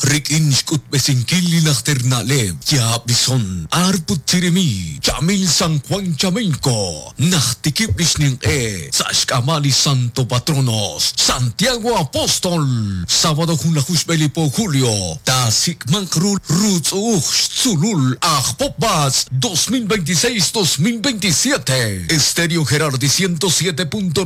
Rik'in xk'utb'esinkil li najter na'leb', yaab' li son, arp ut chirimi, Chamil San Juan Chamelco, najtikib' li xninq'e sa' xk'ab'a' li Santo Patronos, Santiago Apóstol, sábado junlaju xb'e li po julio, taasik'manq ru ruutz'u'uj xtzuulul aj Pop B'atz' 2026-2027. Estéreo Gerardi 107.9,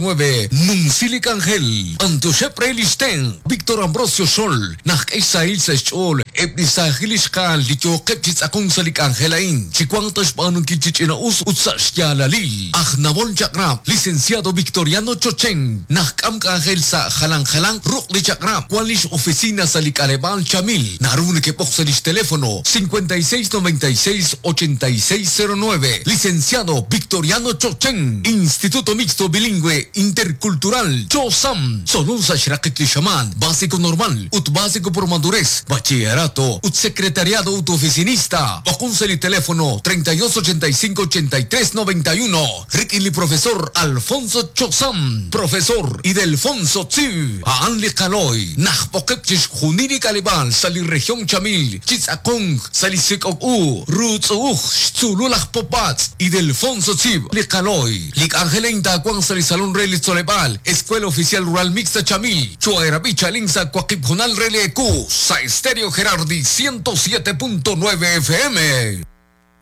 Numsi li k'anjel, B'antioxeb' re li xtenq', Víctor Ambrosio Xol, Najk'e xsahil sa' xch'ool eb' li saajil ixqa'al li yooqeb' chi tz'aqonk sa' li k'anjel a'in, chi wanq ta xb'aanunkil chi ch'ina'us ut sa' xyaalalil. Aj nawol chaq'rab', Licenciado Victoriano Chochen, najk'am k'anjel sa' jalan jalanq ruq' li chaq'rab', wan lix oficina sa' li k'aleb'aal Chamil, naru nekeb'oq sa' lix teléfono 56 96 86 09. Licenciado Victoriano Chochen, Instituto Mixto Bilingüe Intercultural, Chosam, Tzolon sa' xraqik li xamaan, Básico Normal ut Básico por Madurez, Bachillerato ut Secretariado ut Oficinista. B'oqon sa' li teléfono 32 85 83 91 rik'in li Profesor Alfonso Chosam, Profesor Idelfonso Tziv, a'an li qalooy najb'oqeb' chixjunil li k'aleb'aal sa' li región Chamil chi tz'aqonk sa' li sik'ok u ruutz'u'uj xtzuulul aj Popatz' Idelfonso Tziv, li qalooy. Li k'anjel a'in taawanq sa' li Salón re li Tzoleb'aal, Escuela Oficial Rural Mixta Chamil, Cho'aerab'i Chalin sa' waqib' hoonal re li ewu, sa' Estéreo Gerardi 107.9 FM.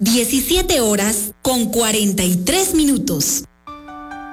17 horas con 43 minutos.